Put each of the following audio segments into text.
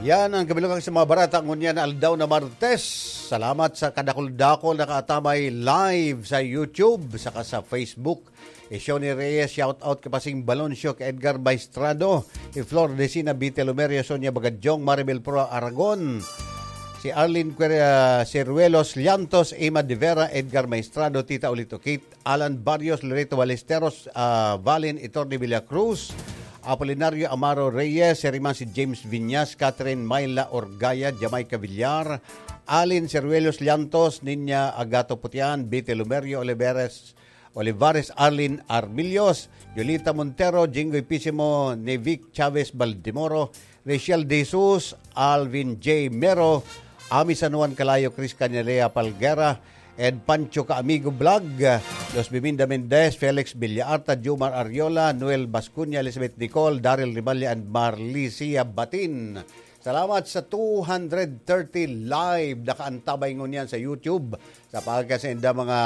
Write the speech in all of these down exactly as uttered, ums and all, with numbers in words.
Yan ang kabilugan sa mga bareta ngunyan na aldaw na Martes. Salamat sa kadakul-dakul na kaatabay live sa YouTube saka sa Facebook. Ishoni Reyes, shout out ki Pasing Baloncio, ki Edgar Maestrado, ki Flor Decina, Bite Lumerio, Sonia Bagadyong, Maribel Pro Aragon, si Arlene Cuer-, ah, Ciruelos Llantos, Emma de Vera, Edgar Maestrado, Tita Ulito Kit, Alan Barrios, Loreto Ballesteros, ah, Valin Itor de Villacruz, Apolinario Amaro Reyes, si Riman si James Viñas, Catherine Myla Orgaya, Jamaica Villar, Alin Ciruelos Llantos, Niña Agato Putian, Bite Lumerio Oliveres, Olivares Arlin Armilios, Yolita Montero, Jinggoy Pisimo, Nevic Chavez Baldemoro, Rachel De Jesus, Alvin J Mero, Ami San Juan Calayo, Chris Canelea Palguera, Ed Pancho Kaamigo Vlog, Luzviminda Mendez, Felix Villaarta, Jomar Ariola, Noel Bascuña, Elizabeth Nicole, Daryl Rimalla, and Marlicia Batin. Salamat sa two hundred thirty live nakaantabay ngunyan sa YouTube. Sa pagkasinda mga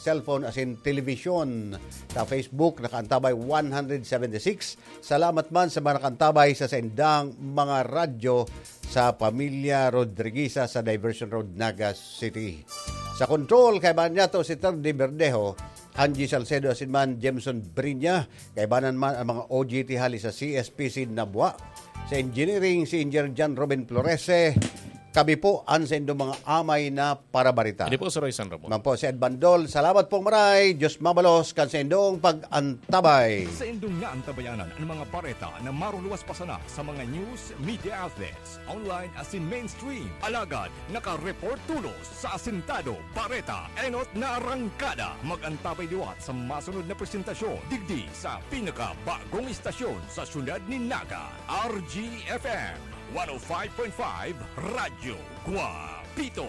cellphone asin television, sa Facebook nakaantabay one hundred seventy-six. Salamat man sa mga nakaantabay sa saindang mga radyo sa Pamilya Rodrigueza sa Diversion Road, Naga City. Sa control, kaibahan niya to si Terdy Verdejo, Angie Salcedo, asin man Jameson Brinya, kaibanan man ang mga O G T hali sa C S P C Nabua. Sa engineering, si Engineer John Robin Florese. Kami po ang sa indong mga amay na parabarita. Ini po si Roy San Ramon. Man po si Ed Bandol. Salamat pong maray. Diyos mabalos kan sa indong pag-antabay. Sa indong naantabayanan ang mga bareta na maruluwas pa sana sa mga news media outlets, online asin mainstream. Alagad, nakareport tulos sa Asintado Bareta, enot na arangkada. Mag-antabay liwat sa masunod na presentasyon digdi sa pinakabagong istasyon sa syudad nin Naga, R G F M one oh five point five Radyo Guapito.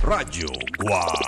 Radyo Guapito.